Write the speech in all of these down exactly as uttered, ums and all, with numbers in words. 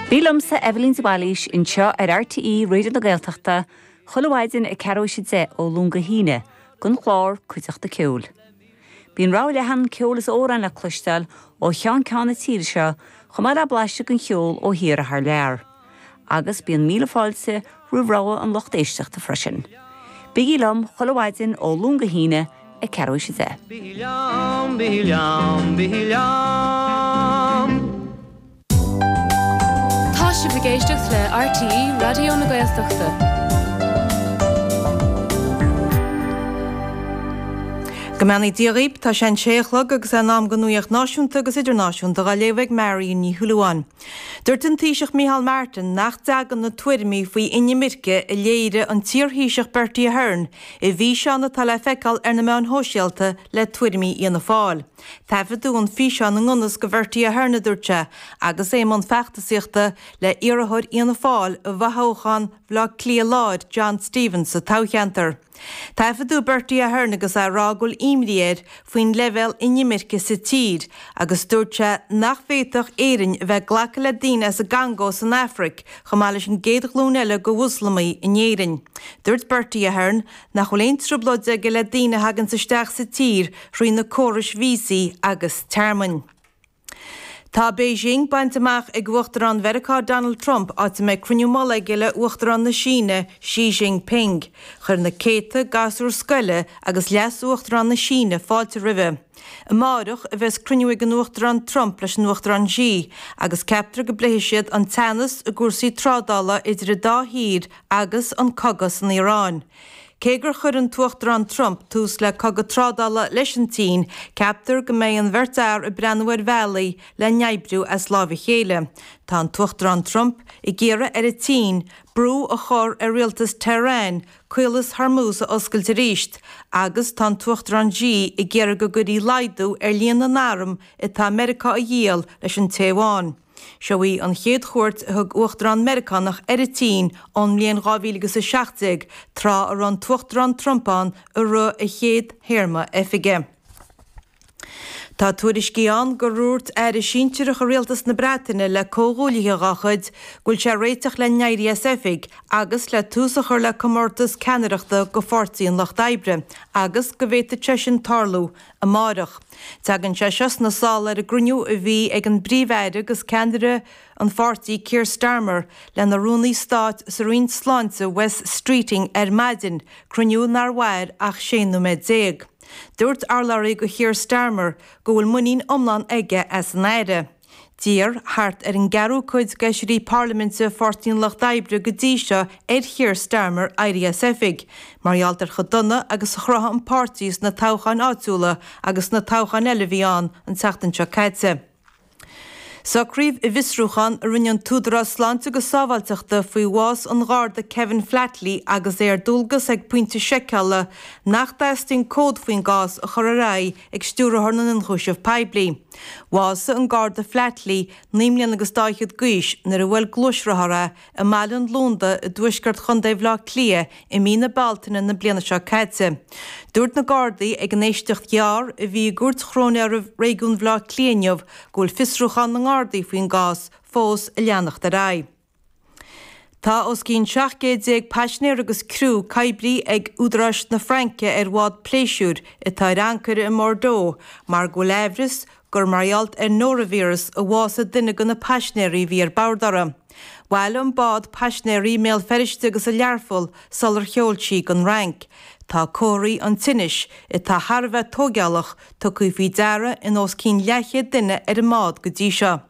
Bí liomsa Eibhlín de Bhailís anseo ar RTÉ Raidió na Gaeltachta, chuile mhaidin ag ceathrú théis a deich ó Luan go hAoine, don chlár Cuideachta Ceoil. Bíonn rogha leathan ceol is amhrán le cloisteáil ó cheann ceann na tíre seo chomh maith le blaiseadh den cheol ó thíortha thar lear. Agus bíonn míle fáilte roimh rogha an lucht éisteachta freisin. Bígí liom chuile mhaidin ó Luan go hAoine ag ceathrú théis a deich. Bí liom, bí liom, bí liom. Tá sibh ag éisteacht le RTÉ Raidió na Gaeltachta. Go mbeannaí Dia dhaoibh, tá sé an sé a chlog agus é in am don nuacht náisiúnta agus idirnáisiúnta á léamh ag Marion Ní Shúilleabháin. Dúirt an Taoiseach Micheál Martin nach dtagann na tuairimí faoi inimirce a léirigh an t-iarThaoiseach Bertie Ahern i bhfíseán atá le feiceáil ar na meáin shóisialta le tuairimí Fhianna Fáil. Taifeadadh an físeán i ngan fhios do Bhertie Ahern a dúirt sé, agus é i mbun feachtasaíochta le iarrthóir Fhianna Fáil i bhfothoghchán Bhaile Átha Cliath Láir, John Stephens sa toghcheantar. Taifeadadh Bertie Ahern agus é ag rá go bhfuil imní air faoin leibhéal inimirce sa tír agus dúirt sé nach bhféadfadh Éirinn a bheith ag glacadh le daoine as an gCongó san Afraic chomh maith leis an gcéad ghlúin eile de Mhoslamaigh in Éirinn. Dúirt Bertie Ahern nach bhfuil aon trioblóid aige le daoine a thaganns isteach sa tír thrí na córais víosaí agus tearmainn. Tá Beijing bainte amach ag Uachtarán Mheiriceá Donald Trump áit a mbeidh cruinniú mullaigh aige le Uachtarán na Síne Xi Jinping. Chuir na céadta gasúr scoile agus leas-uachtarán na Síne fáilte roimhe. Amárach a bheas cruinniú ag an Uachtarán Trump leis an Uachtarán Xi agus ceaptar go bpléifidh siad an teannas i gcúrsaí trádála idir an dá thír agus an cogadh san Iaráin. Cé gur chuir an tUachtarán Trump tús le cogadh trádála leis an tSín, ceaptar go mbeidh an bheirt fhear ag breathnú ar bhealaí le n-oibriú as láimh a chéile. Tá an tUachtarán Trump ag iarraidh ar an tSín brú a chur ar rialtas Tehran Caolas Hormuz a oscailt arís agus tá an tUachtarán Xi ag iarraidh go gcuirfí laghdú ar líon na n-arm atá Meiriceá a dhíol leis an Téaváin. Seo í an chéad chuairt a thug Uachtarán Meiriceánach ar an tSín ón mbliain dhá mhíle agus a seacht déag, tráth a raibh an tUachtarán Trump ann i rith a chéad théarma oifige. Tá tuairiscí ann gur dhúirt aire sinsearach i rialtas na Breataine le comhghuaillithe dá chuid go bhfuil sé réiteach le n-éirí as oifig agus le tús a chur le comórtas ceannaireachta do Pháirtí an Lucht Oibre agus go bhféadfadh sé sin tarlú amáireach. Tagann sé seo sna sála ar an gcruinniú a bhí ag an bPríomh-Aire agus ceannaire an pháirtí Keir Starmer lena Rúnaí Stáit sa Roinn Sláinte Wes Streeting ar maidin, cruinniú nár mhair ach sé nóiméad déag. Dúirt urlabhraí do Keir Starmer go bhfuil muinín iomlán aige as an Aire. D'iarr thart ar an gceathrú cuid d'fheisirí parlaiminte Pháirtí an Lucht Oibre go dtí seo ar Keir Starmer éirí as oifig, mar gheall ar chomh dona agus a chruthaigh an páirtí sna toghcháin áitiúla agus sna toghcháin eile a bhí ann an tseachtain seo caite. Socraíodh i bhfiosrúchán a rinne an tÚdarás Sláinte agus Sábháilteachta faoi bhás an Gharda Kevin Flatley agus é ar dualgas ag pointe seiceála nach dteastaíonn comhad faoin gcás a chur ar aghaidh ag Stiúrthóir na nIonchúiseamh Poiblí. Bhásaigh an Garda Flatley, naoi mbliana agus dá fhichead d'aois, nuair a bhuail gluaisrothar é i mBaile an Lúnda i dtuaisceart Chontae Bhaile Átha Cliath i mí na Bealtaine na bliana seo caite. Dúirt na Gardaí ag an éisteacht ghearr a bhí i gCúirt Chróinéara Réigiún Bhaile Átha Cliath inniu go bhfuil fiosrúchán na nGardaí faoin gcás fós ag leanacht ar aghaidh. Tá os cionn seacht gcéad déag paisinéir agus criú coibrithe ag údaráis na Fraince ar bhád pléisiúir atá ar ancaire i mBordeaux mar go bhfuil aimhreas gur mar gheall ar nóravíreas a bhásaigh duine de na paisinéirí a bhí ar bord orthu. Bhailigh an bád paisinéirí i mBéal Feirste agus i Learpholl sular sheol sí don Fhrainc. Tá comharthaí an tinnis, atá thar a bheith tóigeálach, tugtha faoi deara in os cionn leathchéad duine ar an mbád go dtí seo.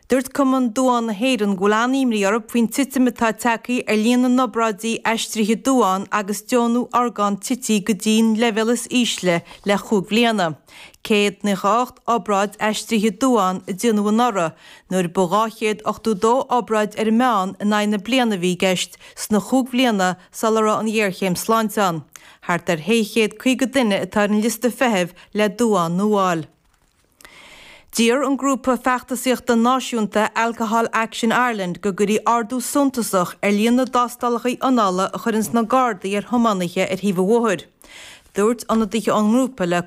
Dúirt Cumann Duán na hÉireann go bhfuil an-imní orthu faoin titim atá tagtha ar líon na n-obráidí aistrithe duán agus deonú orgán tite go dtí'n leibhéal is ísle le chúig bhliana. céad nócha a hocht obráid aistrithe duán a déanadh anuraidh, nuair ba dhá chéad ochtó dó obráid ar an meán in aghaidh na bliana a bhí i gceist sna chúig bhliana sula raibh an ghéarchéim sláinte ann. Thart ar shé chéad caoga duine atá ar an liosta feithimh le duán nua a fháil. D'iarr an grúpa feachtasaíochta náisiúnta Alcohol Action Ireland go gcuirfí ardú suntasach ar líon na dtástálacha ionála a chuireanns na Gardaí ar thiománaithe ar thaobh an bhóthair. Dúirt ionadaithe ón ngrúpa le